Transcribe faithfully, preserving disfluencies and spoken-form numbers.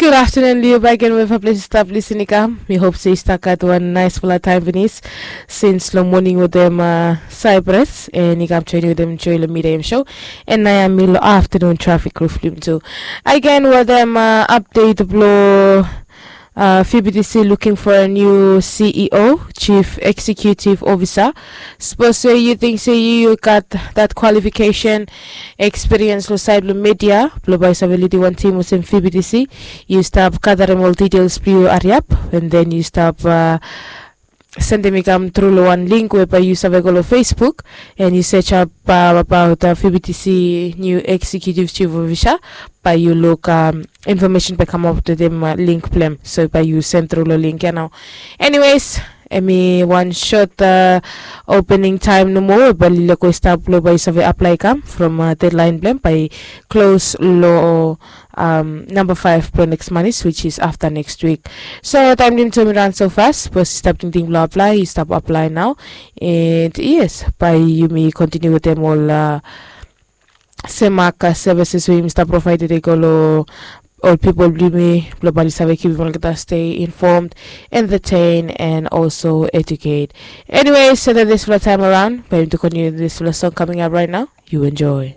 Good afternoon, Liu Bagen, wherever place you stop listening. Come, we hope say you start got one nice full of time, Venice. Since long morning with them, uh, Cyprus, and you come training with them, enjoy the midday show. And I am Milo afternoon traffic roof lim too. Again, with them, uh, update blow. Uh, F B T C looking for a new C E O, Chief Executive Officer. Suppose say you think say you, you got that qualification, experience lo side lo media, blo bai save leading one team with some F B T C. You stop gathering all details blue hurry up, and then you stop uh, sending me come through lo one link whereby you save go lo Facebook and you search up uh, about uh, F B T C new executive chief officer. By you look um, information by come up to them uh, link blem. So by you send through lo link, you know. Anyways, emi one short uh, opening time no more, but lile ko stop lo by save apply come from uh, deadline blem by close lo um, number five blo next month, which is after next week. So time lim to me run so fast, but stop thinking blo apply, you stop apply now. And yes, by you me continue with them all uh, Semaka services we Mr. Provided they go lo all people blue me globally save keep people get stay informed, entertain and also educate. Anyway, so that this for the time around, but to continue this for the song coming up right now. You enjoy.